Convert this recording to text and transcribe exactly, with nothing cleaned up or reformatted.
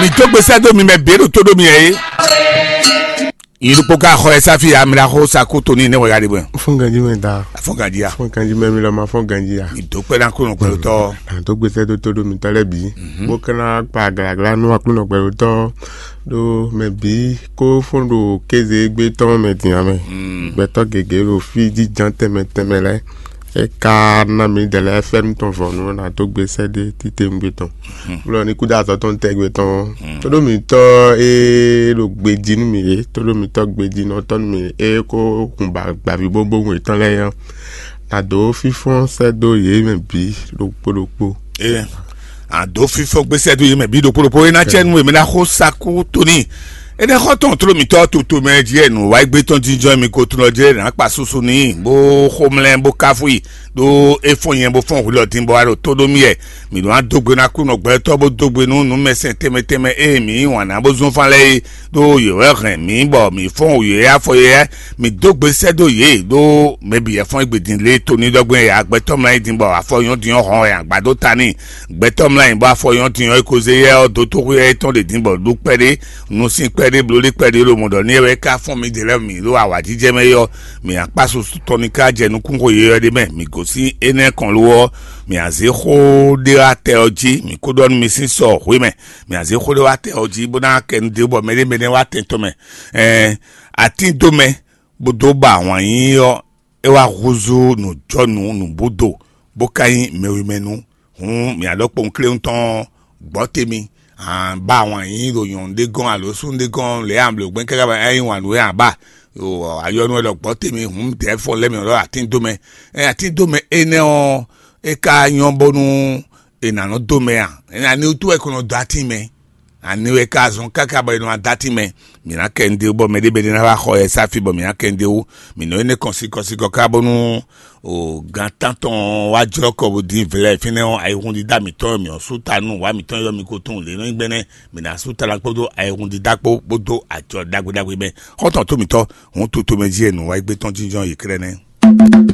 Ìdógbèsè dó mi mɛ běɖo tó ɖó mi ɛ é. Yìí ɖokpó ká xɔ ɛ sáfì amìlaxó sakú tóní nɛ wɛ ya ɖe bɔ. Fún ganjí mɛ da. Afɔn ganjí ya. Fún ganjí mɛ mi lɔ ma fún ganjí ya. Ìdókpẹ́ ná kúrò pẹ̀lú tọ́. Àdógbèsè tó tó ɖó mi tɔlɛ bí. Bó kɛnɛ kpa aglagla nú aklúnɔ pẹ̀lú tọ́. Ɖó mɛ bí kó fún ɖo kéze gbé tɔn mɛ din amɛ. Gbɛtɔ gěgé ɖo fí jínjɔ́n tɛnmɛ tɛnmɛ lɛ́ɛ. É ka ná mi dɛ lɛ́ɛ fɛ́nú tɔn vɔ̌nu ná dó gbe sɛ́ ɖé títewungbe tɔn. Blɔ ní kúdó azɔ̌ tɔn tɛ́gbe tɔn. Tóɖó mǐtɔn e ɖo gbejí nú mì é, tóɖó mǐtɔn gbejí nɔ tɔn nú mì é kó hun ba gbavǐbówun yětɔn lɛ́ɛ nyɔ́. Nǎ dó fínfɔ́n sɛ́ dó yě mɛ bǐ ɖokpó ɖokpó. Ee, a dó fífɔ́n gbésɛ dó yě mɛ bǐ ɖokpó ɖokpó. É ná cɛ nú èmi ná xó sakú tóní. Énɛ́ xɔ tɔn tló mǐtɔn toto mɛ jí ɛ nǔ wá gbé tɔn jínjɔ́n mi ko tunɔ jɛ nǎ kpa susu n'i bó xomlɛ́ bó káfú i ɖó é fɔ́n nyɛ bó fɔ́n hwilɔ din bɔ wá ɖo tó ɖó mì ɛ. Mǐ ɖó ná dó gbe ná kú nɔ gbɛtɔ́ bó dó gbe nú nǔmɛsɛn tɛnmɛ tɛnmɛ e mǐ yí wǎn ná bó zɔ́n fán lɛ́ɛ é ɖó yě wɛ hɛn mǐ bɔ mǐ fɔ́n wǔ yě afɔ yě. Mǐ dó gbe sɛ́ dó yě ɖó mɛ bǐ yɛ fɔ́n égbé din lě tóní ɖɔgbɛ́n yě agbɛtɔ́ mlá nyi din bɔ afɔ nyɔ́ din ɔ́ hɔn wɛ agbadó ta n'i. Gbɛtɔ́ mlá nyi bɔ afɔ nyɔ́ din ɔ́ é ko zé yɛ ɔ́ dó tóxwé ɛ tɔn ɖě din bɔ ɖó kpɛɖé, nusín kpɛɖé, blolí kpɛɖé, lomɔɖɔ ní ɛ wɛ ká fɔ́n mǐ ɖě lɛ́ɛ mǐ ɖo awǎjijɛ mɛ é ɔ́, mǐ akpá susu tɔn ní ká jɛ nukúnxo yeyɔ́ ɖé mɛ. Mǐ gosín énɛ́ kɔn lo ɔ́, mǐ azé xó ɖé wá tɛ ɔ́ jí, mǐ kó ɖɔ nú mi sín sɔ hwé mɛ. Mǐ azé xó ɖé wá tɛ ɔ́ jí bó ná kɛ nu ɖě bɔ mɛɖé mɛɖé wá tɛn tɔn mɛ. Ɛɛ, atín dó mɛ bó dó ba ahwan yíyí ɔ́, é wá húzú nǔjɔnǔ nǔbúdo, bó ka nyí mɛwimɛnu. Hǔn mǐ alɔkpɔ́n kléwún tɔn gbɔ́ te mì, ba ahwan yíyí ɖo nyɔ̌nu ɖé gɔ́n alo súnnu ɖé gɔ́n lě amblǒgbɛ́n káká ba é nyí wǎn nú é ǎ ba. Ayɔnu wɛ ɖɔ gbɔ́ te mì, hǔn dɛ̌ fɔ lɛ́ mì ɖɔ atín dó mɛ. Ɛ atín dó mɛ énɛ́ ɔ́, é ka nyɔ́ bónú è nǎ nɔ dó mɛ a? Ɛ ani wútu wɛ è ko nɔ dó atín mɛ? Ani wɛ ka zɔn káká bɔ è nɔ adá atín mɛ? Mǐ ná kɛ nǔɖé bɔ mɛɖé bɛ́ ná wá xɔ ɛ sáfi bɔ mǐ ná kɛ nǔɖé wú. Mǐ nɔ énɛ́ kɔn sikɔ sikɔ ká bónú o gan tántɔn wá jlɔ́ kɔ bó dín vlɛ́ fínɛ́ ɔ́, ayihún dídá mǐtɔn mǐ ɔ́ sú ta nú wǎ mǐtɔn yɔ mi ko tunwun lě nɔ nyí gbɛ́nɛ́. Mǐ ná sú ta ná kpódó ayihún dídá kpó bó dó ajɔ ɖagbe ɖagbe mɛ. Xɔ́ntɔn tó mǐtɔn, hǔn tutomɛ jí e nǔ wá gbé tɔn jínjɔ́n yě klɛ́ nɛ́.